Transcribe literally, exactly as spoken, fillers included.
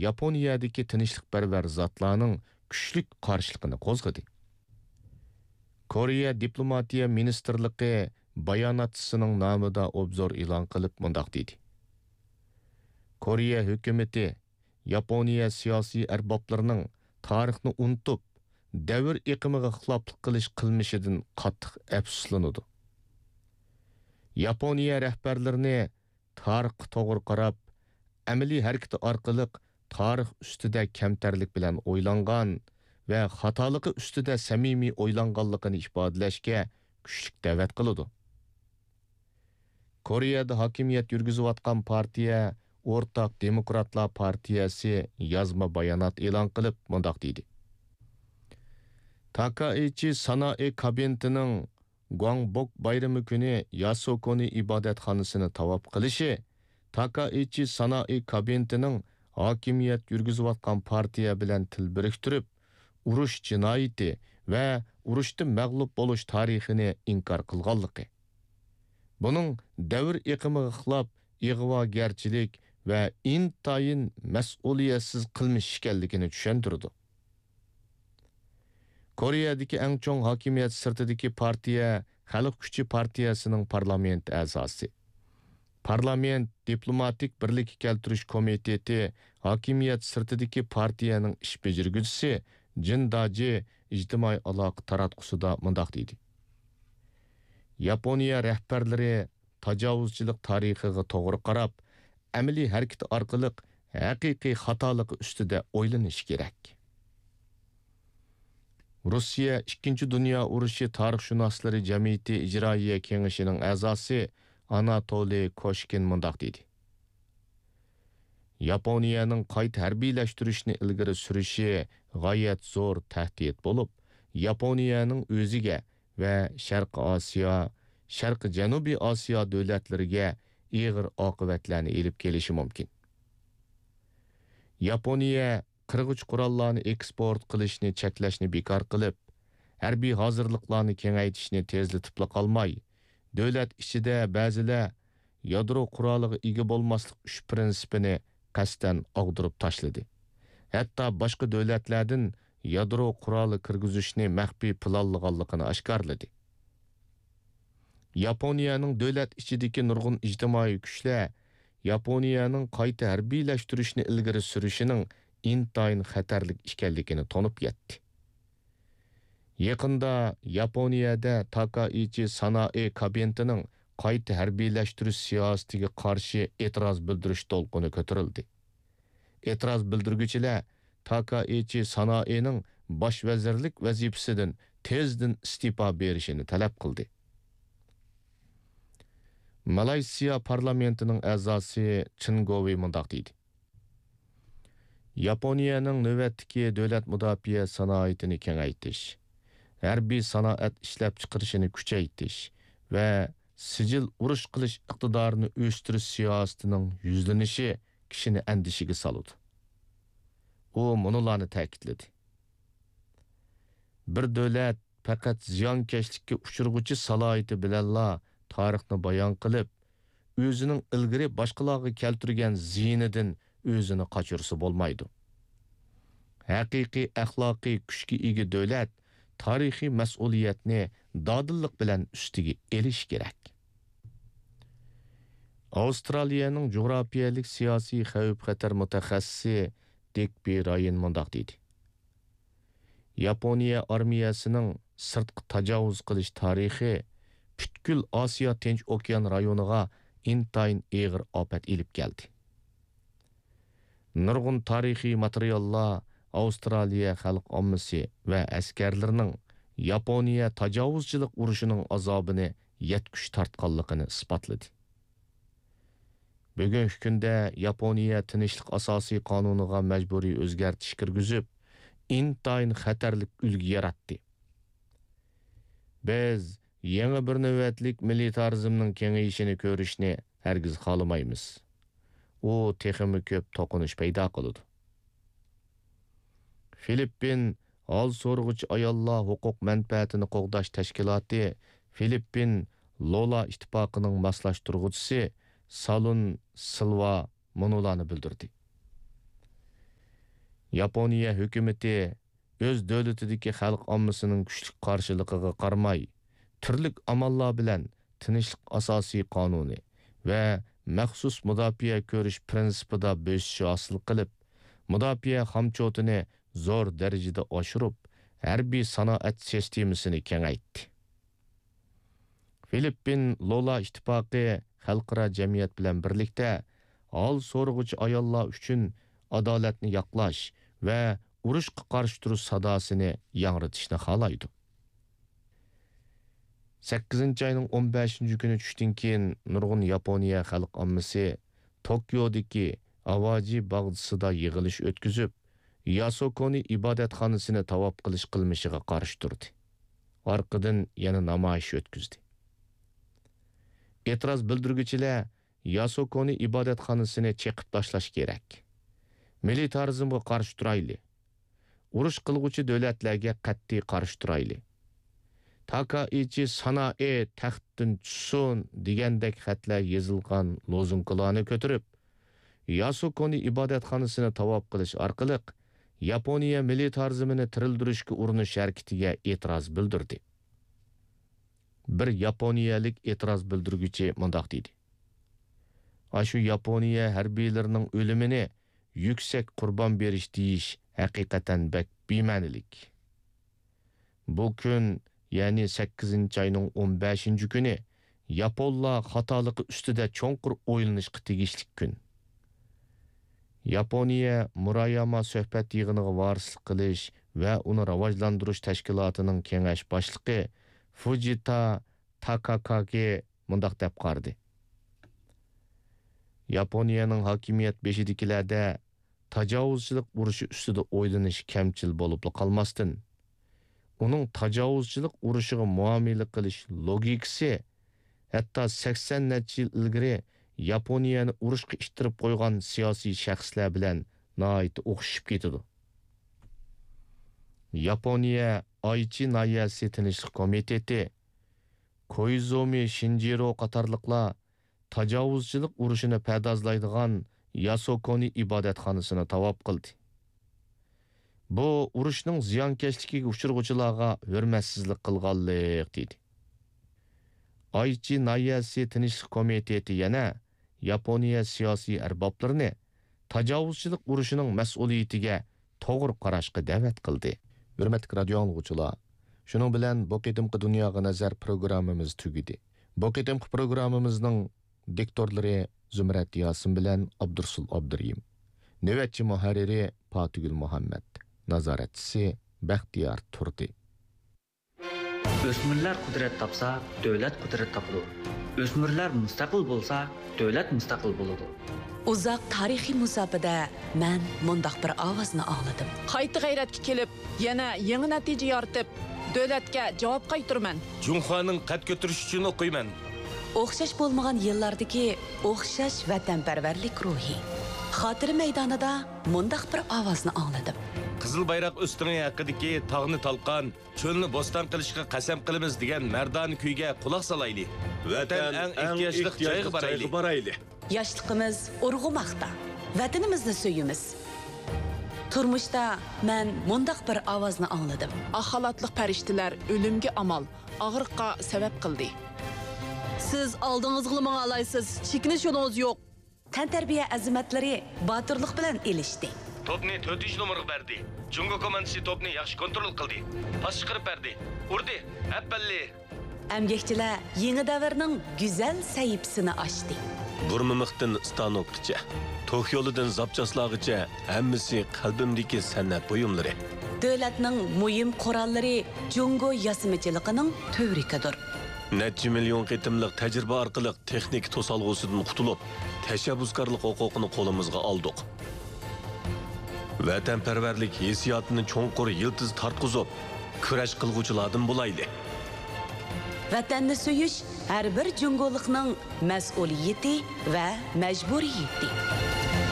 ياپونىيەدىكى تىنچلىقپەرۋەر زاتلارنىڭ كۈچلۈك قارشىلىقىنى قوزغىدى. كورېيە دىپلوماتىيە مىنىستىرلىقى باياناتچىسىنىڭ نامىدا ئوبزور ئېلان قىلىپ مۇنداق دېدى: كورېيە ھۆكۈمىتى ياپونىيە سىياسىي ئەربابلىرىنىڭ تارىخنى ئۇنتۇپ، دەۋر ئېقىمىغا خىلاپلىق قىلىش قىلمىشىدىن قاتتىق ئەپسۇسلىنىدۇ. ياپونىيە رەھبەرلىرىنى تارىخقا توغرا قاراپ، ئەمەلىي ھەرىكىتى ئارقىلىق تارىخ ئۈستىدە كەمتەرلىك بىلەن ئويلانغان ۋە خاتالىقى ئۈستىدە سەمىمىي ئويلانغانلىقىنى ئىپادىلەشكە كۈچلۈك دەۋەت قىلىدۇ. كورېيەدە ھاكىمىيەت يۈرگۈزۈۋاتقان پارتىيە ئورتاق دېموكراتلار پارتىيەسى يازما بايانات ئېلان قىلىپ مۇنداق دېدى: تاكائىچى سانائى كابىنېتىنىڭ گۇاڭبوك بايرىمى كۈنى ياسۇكونى ئىبادەتخانىسىنى تاۋاپ قىلىشى تاكائىچى سانائى كابىنېتىنىڭ ھاكىمىيەت يۈرگۈزۈۋاتقان پارتىيە بىلەن تىل بىرىكتۈرۈپ، ئۇرۇش جىنايىتى ۋە ئۇرۇشتا مەغلۇپ بولۇش تارىخىنى ئىنكار قىلغانلىقى، بۇنىڭ دەۋر ئېقىمىغا خىلاپ ئىغۋاگەرچىلىك ۋە ئىنتايىن مەسئۇلىيەتسىز قىلمىش ئىكەنلىكىنى چۈشەندۈرىدۇ. كورېيەدىكى ئەڭ چوڭ ھاكىمىيەت سىرتىدىكى پارتىيە خەلق كۈچى پارتىيەسىنىڭ پارلامېنت ئەزاسى، پارلامېنت دىپلوماتىك بىرلىككە كەلتۈرۈش كومىتېتى ھاكىمىيەت سىرتىدىكى پارتىيەنىڭ ئىش بېجىرگۈچىسى جىن داجى ئىجتىمائىي ئالاقە تاراتقۇسىدا مۇنداق دېدى: ياپونىيە رەھبەرلىرى تاجاۋۇزچىلىق تارىخىغا توغرا قاراپ، ئەمەلىي ھەرىكىتى ئارقىلىق ھەقىقىي خاتالىقى ئۈستىدە ئويلىنىشى كېرەك. روسىيە ئىككىنچى دۇنيا ئۇرۇشى تارىخشۇناسلىرى جەمئىيىتى ئىجرائىيە كېڭىشىنىڭ ئەزاسى ئاناتولىي كوشكىن مۇنداق دېدى: ياپونىيەنىڭ قايتا ھەربىيلەشتۈرۈشنى ئىلگىرى سۈرۈشى غايەت زور تەھدىت بولۇپ، ياپونىيەنىڭ ئۆزىگە ۋە شەرقىي ئاسىيا، شەرقىي جەنۇبىي ئاسىيا دۆلەتلىرىگە ئېغىر ئاقىۋەتلەرنى ئېلىپ كېلىشى مۇمكىن. ياپونىيە قىرغۇچ قوراللارنى ئېكسپورت قىلىشنى چەكلەشنى بىكار قىلىپ، ھەربىي ھازىرلىقلارنى كېڭەيتىشنى تېزلىتىپلا قالماي، دۆلەت ئىچىدە بەزىلەر يادرو قورالىغا ئىگە بولماسلىق ئۈچ پىرىنسىپىنى قەستەن ئاغدۇرۇپ تاشلىدى. ھەتتا باشقا دۆلەتلەردىن يادرو قورالى كىرگۈزۈشنى مەخپىي پىلانلىغانلىقىنى ئاشكارىلىدى. ياپونىيەنىڭ دۆلەت ئىچىدىكى نۇرغۇن ئىجتىمائىي كۈچلەر ياپونىيەنىڭ قايتا ھەربىيلەشتۈرۈشنى ئىلگىرى سۈرۈشىنىڭ ئىنتايىن خەتەرلىك ئىكەنلىكىنى تونۇپ يەتتى. يېقىندا ياپونىيەدە تاكائىچى سانائى كابىنېتىنىڭ قايتا ھەربىيلەشتۈرۈش سىياسىتىگە قارشى ئېتىراز بىلدۈرۈش دولقۇنى كۆتۈرۈلدى. ئېتىراز بىلدۈرگۈچىلەر تاكائىچى سانائىنىڭ باش ۋەزىرلىك ۋەزىپىسىدىن تېزدىن ئىستېپا بېرىشىنى تەلەپ قىلدى. مالايسىيا پارلامېنتىنىڭ ئەزاسى چېن گوۋېي مۇنداق دېدى: ياپونىيەنىڭ نۆۋەتتىكى دۆلەت مۇداپىئە سانائىتىنى كېڭەيتىش، ھەربىي سانائەت ئىشلەپچىقىرىشىنى كۈچەيتىش ۋە سىجىل ئۇرۇش قىلىش ئىقتىدارىنى ئۆستۈرۈش سىياسىتىنىڭ يۈزلىنىشى كىشىنى ئەندىشىگە سالىدۇ. ئۇ مۇنۇلارنى تەكىتلىدى: بىر دۆلەت پەقەت زىيانكەشلىككە ئۇچرىغۇچى سالاھىيىتى بىلەنلا تارىخنى بايان قىلىپ، ئۆزىنىڭ ئىلگىرى باشقىلارغا كەلتۈرگەن زىيىنىدىن ئۆزىنى قاچۇرسا بولمايدۇ. ھەقىقىي ئەخلاقىي كۈچكە ئىگە دۆلەت تارىخىي مەسئۇلىيەتنى دادىللىق بىلەن ئۈستىگە ئېلىشى كېرەك. ئاۋسترالىيەنىڭ جۇغراپىيەلىك سىياسىي خەۋپ-خەتەر مۇتەخەسسىسى دىك بى رايان مۇنداق دېدى: ياپونىيە ئارمىيەسىنىڭ سىرتقا تاجاۋۇز قىلىش تارىخى پۈتكۈل ئاسىيا تىنچ ئوكيان رايونىغا ئىنتايىن ئېغىر ئاپەت ئېلىپ كەلدى. نۇرغۇن تارىخىي ماتېرىياللار ئاۋسترالىيە خەلق ئاممىسى ۋە ئەسكەرلىرىنىڭ ياپونىيە تاجاۋۇزچىلىق ئۇرۇشىنىڭ ئازابىنى يەتكۈچە تارتقانلىقىنى ئىسپاتلىدى. بۈگۈنكى كۈندە ياپونىيە تىنچلىق ئاساسىي قانۇنىغا مەجبۇرىي ئۆزگەرتىش كىرگۈزۈپ، ئىنتايىن خەتەرلىك ئۈلگە ياراتتى. بىز يېڭى بىر نۆۋەتلىك مىلىتارىزمنىڭ كېڭىيىشىنى كۆرۈشنى ھەرگىز خالىمايمىز. ئۇ تېخىمۇ كۆپ توقۇنۇش پەيدا قىلىدۇ. فىلىپپىن ھال سورىغۇچى ئاياللار ھوقۇق مەنپەئەتىنى قوغداش تەشكىلاتى فىلىپپىن لولا ئىتتىپاقىنىڭ ماسلاشتۇرغۇچىسى سالۇن سىلۋا مۇنۇلارنى بىلدۈردى: ياپونىيە ھۆكۈمىتى ئۆز دۆلىتىدىكى خەلق ئاممىسىنىڭ كۈچلۈك قارشىلىقىغا قارىماي، تۈرلۈك ئاماللار بىلەن تىنچلىق ئاساسىي قانۇنى ۋە مەخسۇس مۇداپىئە كۆرۈش پىرىنسىپىدا بۆسۈش ھاسىل قىلىپ، مۇداپىئە خامچوتىنى زور دەرىجىدە ئاشۇرۇپ، ھەربىي سانائەت سىستېمىسىنى كېڭەيتتى. فىلىپپىن لولا ئىتتىپاقى خەلقئارا جەمئىيەت بىلەن بىرلىكتە ھال سورىغۇچى ئاياللار ئۈچۈن ئادالەتنى ياقلاش ۋە ئۇرۇشقا قارشى تۇرۇش ساداسىنى ياڭرىتىشنى خالايدۇ. سەككىزىنچى ئاينىڭ ئون بەشىنچى كۈنى چۈشتىن كېيىن نۇرغۇن ياپونىيە خەلق ئاممىسى توكيودىكى ئاۋاجى باغچىسىدا يىغىلىش ئۆتكۈزۈپ، ياسوكونى ئىبادەتخانىسىنى تاۋاپ قىلىش قىلمىشىغا قارشى تۇردى. ئارقىدىن يەنە نامايىش ئۆتكۈزدى. ئېتىراز بىلدۈرگۈچىلەر ياسوكونى ئىبادەتخانىسىنى چېقىپ تاشلاش كېرەك. مىلىتارىزمغا قارشى تۇرايلى. ئۇرۇش قىلغۇچى دۆلەتلەرگە قەتئىي قارشى تۇرايلى. تاكائىچى سانائې تەختتىن چۈشسۇن دېگەندەك خەتلەر يېزىلغان لوزۇنكىلارنى كۆتۈرۈپ، ياسۇكونى ئىبادەتخانىسىنى تاۋاپ قىلىش ئارقىلىق ياپونىيە مىلىتارىزمىنى تىرىلدۈرۈشكە ئۇرۇنۇش ھەرىكىتىگە ئېتىراز بىلدۈردى. بىر ياپونىيەلىك ئېتىراز بىلدۈرگۈچى مۇنداق دېدى: «ئاشۇ ياپونىيە ھەربىيلىرىنىڭ ئۆلۈمىنى يۈكسەك قۇربان بېرىش دېيىش ھەقىقەتەن بەك بىمەنىلىك.» بۇ كۈن، يەنى سەككىزىنچى ئاينىڭ ئون بەشىنچى كۈنى، ياپونلار خاتالىقى ئۈستىدە چوڭقۇر ئويلىنىشقا تېگىشلىك كۈن. ياپونىيە مۇراياما سۆھبەت يىغىنىغا ۋارىسلىق قىلىش ۋە ئۇنى راۋاجلاندۇرۇش تەشكىلاتىنىڭ كېڭەش باشلىقى فۇجىتا تاكاكاگې مۇنداق دەپ قارىدى: «ياپونىيەنىڭ ھاكىمىيەت بېشىدىكىلەردە تاجاۋۇزچىلىق ئۇرۇشى ئۈستىدە ئويلىنىش كەمچىل بولۇپلا قالماستىن، ئۇنىڭ تاجاۋۇزچىلىق ئۇرۇشىغا مۇئامىلە قىلىش لوگىكىسى ھەتتا سەكسەن نەچچە يىل ئىلگىرى ياپونىيەنى ئۇرۇشقا ئىتتىرىپ قويغان سىياسىي شەخسلەر بىلەن ناھايىتى ئوخشىشىپ كېتىدۇ.» ياپونىيە ئايچى ناھىيەسى تىنچلىق كومىتېتى، كويزۇمى شىنجىرو قاتارلىقلار تاجاۋۇزچىلىق ئۇرۇشىنى پەردازلايدىغان ياسوكونى ئىبادەتخانىسىنى تاۋاپ قىلدى. بۇ ئۇرۇشنىڭ زىيانكەشلىكىگە ئۇچرىغۇچىلارغا ھۆرمەتسىزلىك قىلغانلىق، دېدى. ئايچى ناھىيەسى تىنچلىق كومىتېتى يەنە ياپونىيە سىياسىي ئەربابلىرىنى تاجاۋۇزچىلىق ئۇرۇشىنىڭ مەسئۇلىيىتىگە توغرا قاراشقا دەۋەت قىلدى. ھۆرمەتلىك رادىيو ئاڭلىغۇچىلار، شۇنىڭ بىلەن بۇ قېتىمقى دۇنياغا نەزەر پروگراممىمىز تۈگىدى. بۇ قېتىمقى پروگراممىمىزنىڭ دىكتورلىرى زۇمرەت ياسىن بىلەن ئابدۇرسۇل ئابدۇرېھىم. نۆۋەتچى مۇھەررىرى پاتىگۈل مۇھەممەت. نازارەتچىسى بەختىيار تۇردى. ئۆسمۈرلەر قۇدرەت تاپسا، دۆلەت قۇدرەت تاپىدۇ. ئۆسمۈرلەر مۇستەقىل بولسا، دۆلەت مۇستەقىل بولىدۇ. ئۇزاق تارىخىي مۇساپىدە مەن مۇنداق بىر ئاۋازنى ئاڭلىدىم. قايتا غەيرەتكە كېلىپ، يەنە يېڭى نەتىجە يارىتىپ، دۆلەتكە جاۋاب قايتۇرىمەن. جۇڭخۇانىڭ قەد كۆتۈرۈشى ئۈچۈن ئوقۇيمەن. ئوخشاش بولمىغان يىللاردىكى ئوخشاش ۋەتەنپەرۋەرلىك روھى. خاتىرە مەيدانىدا مۇنداق بىر ئاۋازنى ئاڭلىدىم. قىزىل بايراق ئۆستىڭى ھەققىدىكى تاغنى تالقان، چۆلنى بوستان قىلىشقا قەسەم قىلىمىز دېگەن مەردانە كۈيگە قۇلاق سالايلى. ۋەتەن ئەڭ ئېھتىياجلىق جايغا بارايلى. ياشلىقىمىز ئۇرغۇماقتا. ۋەتىنىمىزنى سۆيىمىز. تۇرمۇشتا مەن مۇنداق بىر ئاۋازنى ئاڭلىدىم. ئاق خالاتلىق پەرىشتىلەر ئۆلۈمگە ئامال، ئاغرىققا سەۋەب قىلدى. سىز ئالدىڭىزغىلا ماڭالايسىز، چېكىنىش يولىڭىز يوق. تەنتەربىيە ئەزىمەتلىرى باتۇرلۇق بىلەن ئېلىشتى. توپنى تۆتىنچى نومۇرغا بەردى. جۇڭگو كوماندىسى توپنى ياخشى كونترول قىلدى. پاس چىقىرىپ بەردى. ئۇردى. ئەپەللى. ئەمگەكچىلەر يېڭى دەۋرنىڭ گۈزەل سەھىپىسىنى ئاچتى. بۇرما مىختىن ستانوكقىچە، توك يولىدىن زاپچاسلارغىچە ھەممىسى قەلبىمدىكى سەنئەت بۇيۇملىرى. دۆلەتنىڭ مۇھىم قوراللىرى جۇڭگو ياسىمىچىلىقىنىڭ تۈۋرۈكىدۇر. نەچچە مىليون قېتىملىق تەجرىبە ئارقىلىق تېخنىكا توسالغۇسىدىن قۇتۇلۇپ، تەشەببۇسكارلىق ھوقۇقىنى قولىمىزغا ئالدۇق. ۋەتەنپەرۋەرلىك ھېسسىياتىنى چوڭقۇر يىلتىز تارتقۇزۇپ، كۈرەش قىلغۇچىلاردىن بولايلى. ۋەتەننى سۆيۈش ھەر بىر جۇڭگولۇقنىڭ مەسئۇلىيىتى ۋە مەجبۇرىيىتى.